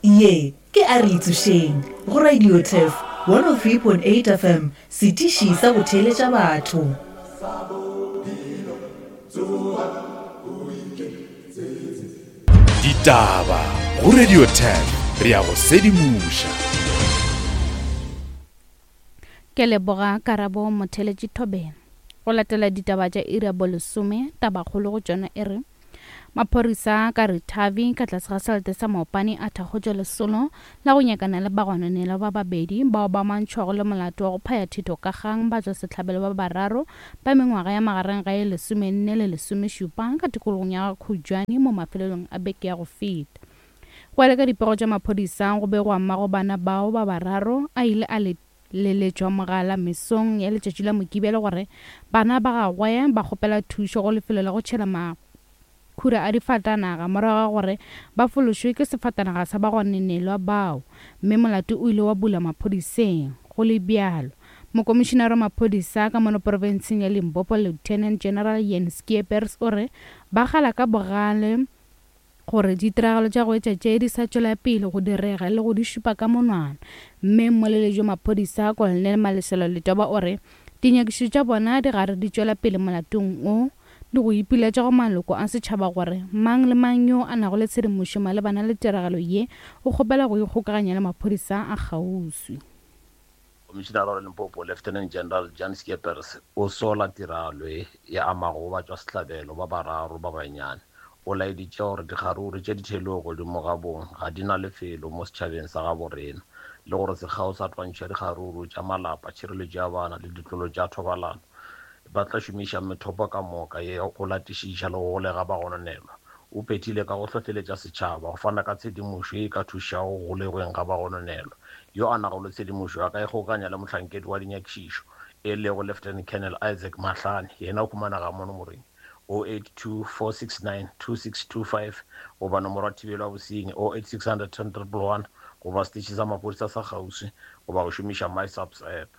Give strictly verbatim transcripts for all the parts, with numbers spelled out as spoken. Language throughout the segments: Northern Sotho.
Ye ke a re itsošeng go Radio Turf one oh three point eight F M, setiši sa go theeletša batho. Ditaba go Radio Turf, re ya go sedimoša. Ke leboga Karabo Motheletši Thobela. Go latela ditaba tša iri ya bolesome, tabakgolo go tšona e re maphodisa ka Ritavi ka tlase ga selethe sa Maopane a thakgotše lesolo la go nyakana le bagononelwa ba babedi bao ba mantšhwago le molato wa go phaya thito ka kgang ba tšwa sehlabelo ba bararo ba mengwaga ya magareng ga ye lesomenne le lesomešupa ka tikologong ya Khujwane mo mafelelong a beke ya go feta. Go ya le ka dipego tša maphodisa, go begwa mmago bana bao ba bararo a ile a le leletšwa mogala mesong ya letšatši la Mokibelo gore bana ba gagwe ba kgopela thušo go lefelo la go tšhela makhura a difatanaga morago ga gore ba fološwe ke sefatanaga sa bagononelwa bao, mme molato o ile wa bula maphodiseng. Go le bjalo, mokomišenare wa maphodisa ka mono profenseng ya Limpopo, Lieutenant General Jan Skeepers, o re ba gala ka bogale gore ditiragalo tša go etša tše di sa tšwela pele go direga le go di šupa ka monwana. Mme mmoleledi wa maphodisa Colonel Malesela Letoba o re dinyakišišo tša bona di gare di tšwela pele molatong o, le go ipiletša go maloko a setšhaba gore mang le mang yo a nago le tshedimošo malebana le tiragalo ye o kgopela go ikgokaganya le maphodisa a kgauswi. Commissioner wa Limpopo Lieutenant General Jan Skeepers o sola tiragalo e ya amago ba tšwa sehlabelo ba bararo ba banyane. O laeditše gore dikgaruru tše di theilwego godimo ga bong ga di na lefelo mo setšhabeng sa gabo rena, le gore sekgao sa twantšho ya dikgaruru tša malapa, tšhireletšo ya bana le ditlolo tša thobalano ba tla šomiša methopo ka moka ye go latišiša le go golega bagononelwa. O phethile ka go hlohleletša setšhaba go fana ka tshedimošo ye e ka thušago go golegweng ga bagononelwa. Yo a nago le tshedimošo a ka ikgokaganya le mohlankedi wa dinyakišišo e lego Lieutenant Colonel Isaac Mahlane, yena o humanega mo nomoreng oh eight two four six nine two six two five goba nomoro ya thibelo ya bosenyi oh eight six hundred ten triple one goba seteše sa maphodisa sa kgauswi goba go šomiša MySAPS app.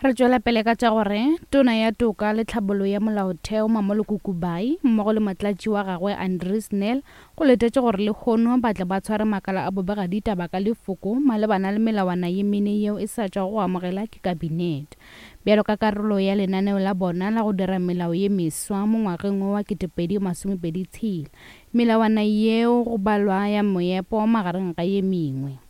Re tšwela pele ka tša gore tona ya toka le tlhabollo ya molaotheo Mamoloko Kubayi mmogo le motlatši wa gagwe Andries Nel go letetše gore lehono ba tle ba tshware makala a bobega ditaba ka lefoko malebana le melawana ye mene yeo e sa tšwago go amogela ke kabinete. Bjalo ka karolo ya lenaneo la bona la go dira melao ye meswa mo ngwageng wa ketepedi masomepedi tshela, melawana yeo go balwa ya moepo magareng ga ye mengwe.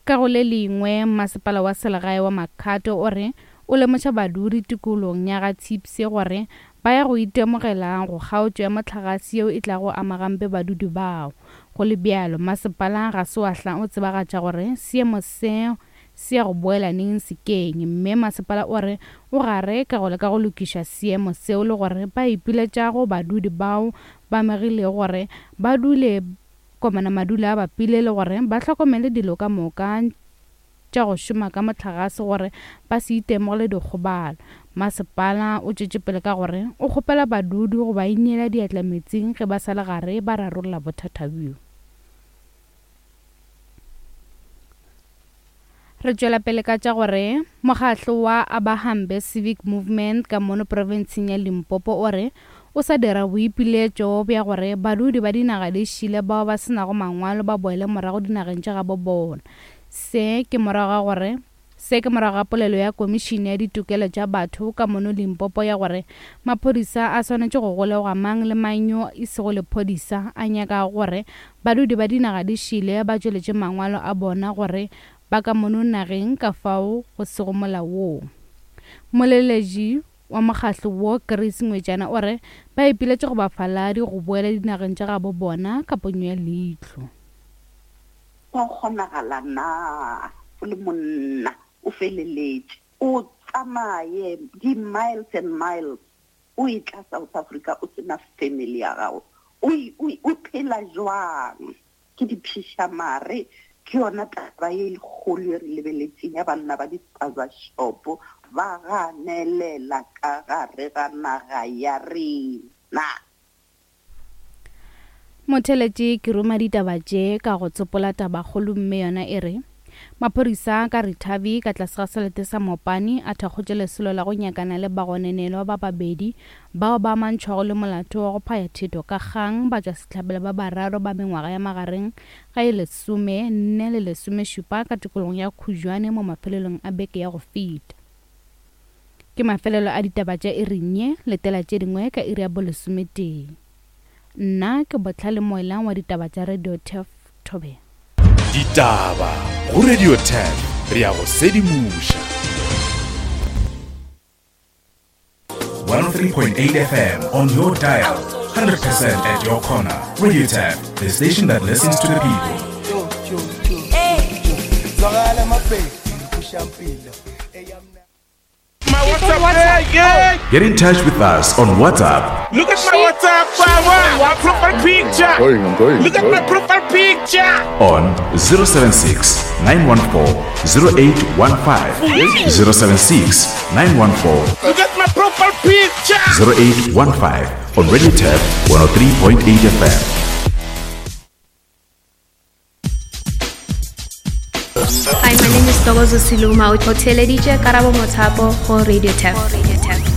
Ka go le lengwe, masepala wa selegae wa Makhado o re o lemoša badudi tikologong ya ga Tshipse gore ba ya go itemogela go kgaotšo ya mohlagase yeo e tlago ama gampe badudi bao. Go le bjalo, masepala ga se wa hla o tsebagatša gore seemo se se ya go boela neng sekeng, mme masepala o re o gare ka go leka go lokiša seemo seo le gore ba ipiletša go badudi bao ba amegilego gore ba dule komana madula a bapile le gore ba hlokomele dilo ka moka tša go šoma ka mohlagase gore ba se itemogele dikgobalo. Masepala o tšwetše pele ka gore o kgopela badudi go ba ineela diatla metsing ge ba sa le gare ba rarolla bothata bjo. Re tšwela pele ka tša gore mokgatlo wa Abahambe Civic Movement ka mono profenseng ya Limpopo o re o sa dira boipiletšo bja gore badudi ba dinaga di šile bao ba senago mangwalo ba boele morago dinageng tša gabo bona. Se ke morago ga gore se ke morago ga polelo ya komišene ya ditokelo tša batho ka mono Limpopo ya gore maphodisa a swanetše go golegwa mang le mang yo e sego lephodisa a nyakago gore badudi ba dinaga di šile ba tšweletše mangwalo a bona gore ba ka mono nageng ka fao go sego molaong. Moleletši wa mokgatlo wo Chris Ngwetšana o re ba ipiletše go bafaladi go boela dinageng tša gabo bona ka ponyo ya leihlo. Go kgonagala na o le monna o feleletše o tsamaye di-miles and miles o e tla South Africa o sena family ya gago, o phela jwang? Ke diphišamare, ke yona taba ye kgolo e re lebeletseng ya banna ba di-spaza shop ba ganelela ka gare ga naga ya rena. Motheletši ke ruma ditaba tše ka go tsopola tabakgolo mme yona e re Maphodisa ka Ritavi ka tlase ga selete sa Mopani a thakgotše lesolo la go nyakana le bagononelwa ba babedi bao ba amantšhwago le molato wa go phaya theto ka kgang ba tšwa sehlabelo ba bararo ba mengwaga ya magareng ga e lesome nne le lesomešupa ka tikologong ya Khujwane mo mafelelong a beke ya go feta. Ke mafelelo a ditaba tša iring ye, letela tše dingwe ka iri ya bolesometee. Nna ke Botlhale Moelang wa ditaba tša Radio Turf Thobela. Ditaba go Radio Turf, re ya go sedimoša. one oh three point eight F M on your dial, one hundred percent at your corner. Radio Turf, the station that listens to the people. My WhatsApp, yeah. Get in touch with us on WhatsApp. Look at my WhatsApp, my profile picture. I'm going, I'm going, Look at I'm my going. profile picture. On zero seven six, nine one four, zero eight one five. zero seven six, nine one four. Look at my profile picture. zero eight one five on Radio Turf one oh three point eight F M. Hi, my name is Togozo Siluma. O theeleditše Karabo Mothapo go Radio Turf.